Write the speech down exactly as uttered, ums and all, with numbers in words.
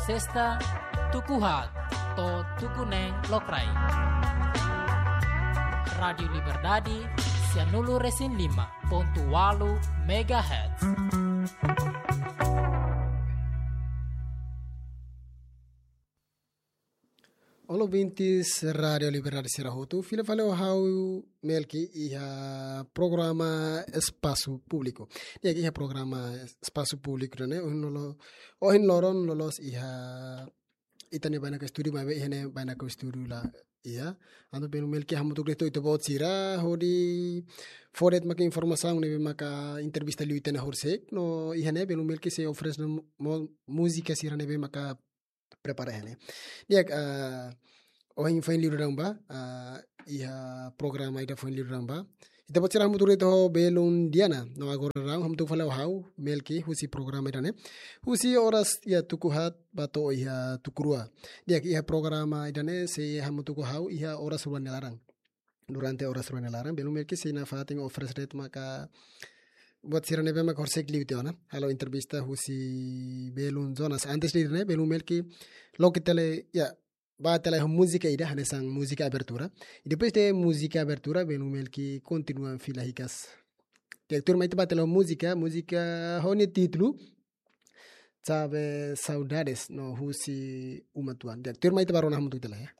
Sesta, tuku haat to'o tuku neen lokraik. Rádiu Liberdade, sianulu resin lima pontu walu megahertz. Olá, ouvintes Rádiu Liberdade sira hotu, fila fali ho ha'u Melki iha programa Espasu Públiku. Di'ak, iha programa Espasu Públiku ne'e, ohin lolo-, ohin loron loloos iha ita-nia bainaka estúdiu, maibé iha ne'e bainaka estúdiu la iha. Entaun belun Melki hamutuk de'it ho ita-boot sira hodi fó de'it maka informasaun ne'ebé maka entrevista liu ita-nia horisehik, no iha ne'e belun Melki sei oferese mo-, múzika sira ne'ebé maka prepara iha ne'e. Di'ak, ah, ohin foin liu daudaun ba, ah, iha programa ida foin liu daudaun ba. Ita-boot sira hamutuk de'it ho belun Diana, no agora daudaun hamutuk fali ho ha'u Melki husi programa ida-ne'e. Husi oras iha tuku haat ba to'o iha tuku rua. Di'ak, iha programa ida-ne'e sei hamutuk ho ha'u iha oras rua nia laran. Durante oras rua nia laran, belun Melki sei nafatin oferese de'it maka buat sira ne'ebé maka horisehik liu tiha ona. Halo entrevista husi belun Jonas. Antes de ne'e, belun Melki loke tiha lai, ya, ba tiha lai ho múzika ida, hanesan múzika abertura. I depois de múzika abertura, belun Melki kontinua fila hikas. Di'ak, tuirmai ita ba tiha lai ho múzika, múzika ho nia títulu Chave Saudades, no husi Uma Tuan. Di'ak, tuirmai ita ba rona hamutuk tiha lai, ya.